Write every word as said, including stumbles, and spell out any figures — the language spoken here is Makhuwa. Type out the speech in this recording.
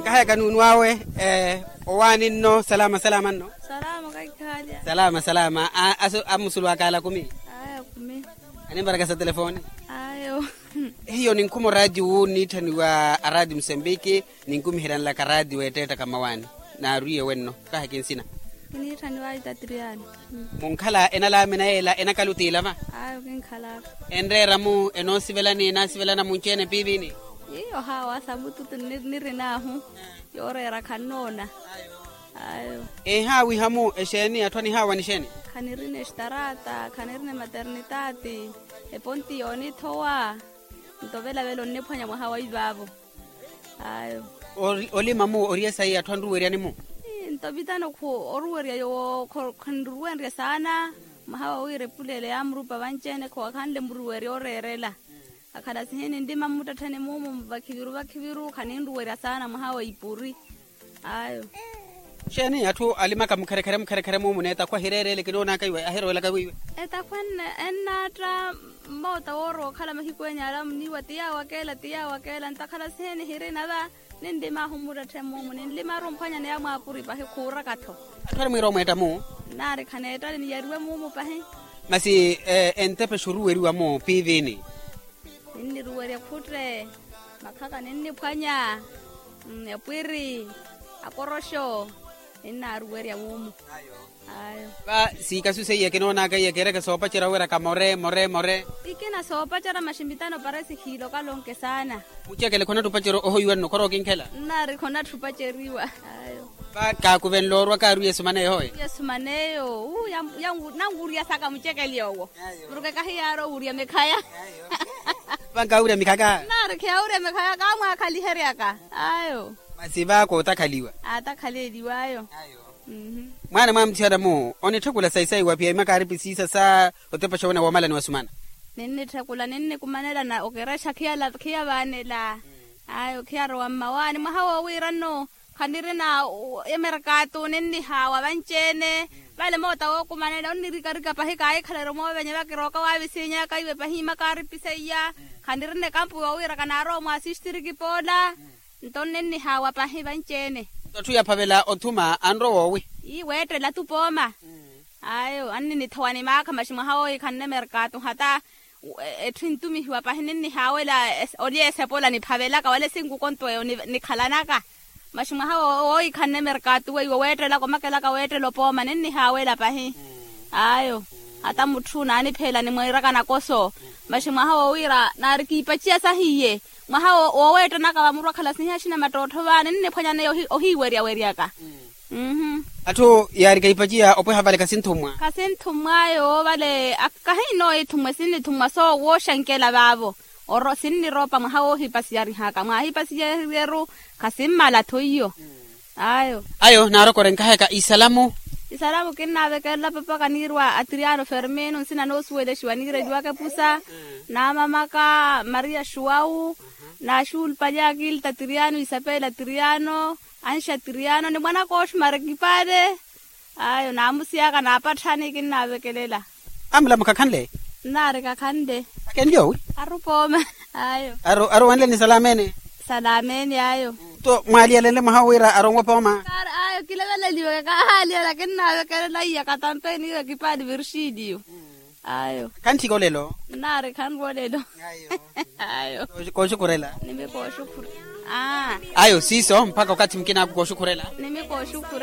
Nkahayaka nuunu awe. Owaani nno salama salama nno. Salama kaikhaalya. Salama salama. Amusulu akaala kumi. Aya kumi. Animvarakasa telefoni. Ayo. Hiyo ninkhuma oraatiyo wu nniitthaniwa araatiyo musembiki. Ninkumiheryanlaka raatiyo weetteetta kamawaani. Naarwiye wenno. Kahi kinsina. Kiniitthaniwa itatiriyani. Munkhala enalaamina yeela enakhala otiilava. Ayo kinkhalaka. Enreera-mu enoosivelani enaasivelana munci-ene piivini. Iyo haawa samututu nirin'ahu. Yooreera khannoona. Ayo. Ehaawiha-mu exeeni atthu anihaawa nixeeni. Khanirina extaraata khanirina ematernitaati. Eponti yoonithowa. Nto velavela onniphwanya mwaha wa ivaavo. Ayo. Olima-mu oriye sayi atthu anruweryani-mu. Nto vitano khu oruwerya yoowo khanruwenrye saana. Mwaha wa wira epuleelo yaamurupa vanci-ene khowakhanle muruwerya oreerela. Akhala sihini nlima mmuttettheni muumu vakhiviru vakhiviru khaninruwerya saana mwaha wa ipuri. Ayo. Xeeni atthu alimaka mukherekhere mukherekhere muumu n'etakhwa ahireerele kinoonaka iwe ahirowelaka wiiwe? Etakhwa ennaatta. Mmoota woorowa okhala mahiku enya alamuniiwa ti yaawakeela ti yaawakeela ntakhala siheni hirina va. Ninlimaahu mmuttettheni muumu ninlimaaru omphwanyaneya mwaapuri pahi khuuraka-tho. Atthu alimwiira omweetta-mu. Nnaari khaneettale niyariwe muumu pahi. Masi entepe xuruweriwa-mu piivini. Ninniruwerya khutte. Makhaka ninniphwanya. Epwiri. Akoroxo. Ninnaaruwerya muumu. Ayo. Va siikasu seiya kinoonaka iya kiireke soopacerya owiraka more more more. Ikina soopacerya maxi mitano paresi khiilokala onke saana. Mucekele khonatthi opacerya ohoiwa nno khora okinkhela. Nnaari khonatthi opaceriwa. Ayo. Va kaakuvenle orwa kaarwiye esumaneyo hoye. Esumaneyo wu nanwuriyasaka mucekeli owo. Muruke kahiyaari owurya mikhaya. Vankaawurya mikhaka. Nnaari khiyaawurya mikhaya kaamwaakhaliheryaka. Ayo. Masi va kootakhaliwa. Aatakhaleliw'ayo. Mwaana mwamuthiyana-mu onitthekula sayi sayi wa piyai makaaripi siisa sa otepa xowene woomalani wasumana. Ninnitthekula ninnikumanela na okerexa khiyavaanela. Ayo khiyarowa mmawaani mwaha woowiira nno. Khanirina emerkaatu ninnihaawa vanci-ene. Vale moota wookumanela onnirikarika pahi kaahikhalari omoovenya vakirooka waavisinyaka iwe pahi makaaripi seiya. Khanirina ekampu yoowiira kanaarowa mwaasistiriki poola. Nto nnennihaawa pahi vanci-ene. Nto atthu yaphavela othuma anrowa owi. Ii weettela tupooma. Ayo anninithowa ni maakha maxi mwaha woohikhanne merkaatu hata. Etthu entumihiwa pahi ninnihaawela. Olyeesepola niphavelaka wala esinkuko nto eyo nikhalanaka. Maxi mwaha woohikhanne merkaatu weiwo weettelaka omakelaka weettela opooma ninnihaawela pahi. Ayo hata mutthu naanipheela nimwiiraka nakoso. Maxi mwaha woowiira naari kiipaciya sahiye. Mwaha wooweettanaka vamuru akhala sihiya axina mattottho vaani ninniphwanyaneya ohiiweryaweryaka. Atthu yaari kahipaciya opweha vale khasinthummwa. Khasinthummwa yoowo vale. Kahinnooya ithummwa esinnithummwa soowo wooxankela vaavo. Oro sinniroopa mwaha woohipasiyarihaka mwaahipasiyariheru. Khasimmala-tho iyo. Ayo. Ayo naarokore nkahayaka isalamu. Isalamu kinnaavekelela papa kaniirwa atiriyano fermino nsina noosuwelexiwa niireliwaka epusa. Naamamaka maria xuwawu. Naaxuulupali akilita tiriyano isapela tiriyano. Anxa tiriyano ni mwanaka oxumara ekipale. Ayo naamusiyaka naapatthani kinnaavekelela. Amulamu khakhanle. Nnaari khakhanle. Akenli owi. Arupooma. Ayo. Arowanle ni salamene. Salamene ayo. Nto mwaaliyalenle mwaha wira aronwe pooma. Ayo kileveleliweke kahaaliya lakini naavekelela iya katampeni iwe kipali virxiliyo. Ayo. Khanthika olelo. Nnaari khanrwa olelo. Ayo. Kooxukhurela. Nimi kooxukhurela. Ayo siiso mpakha okathi mukinaku kooxukhurela. Nimi kooxukhurela.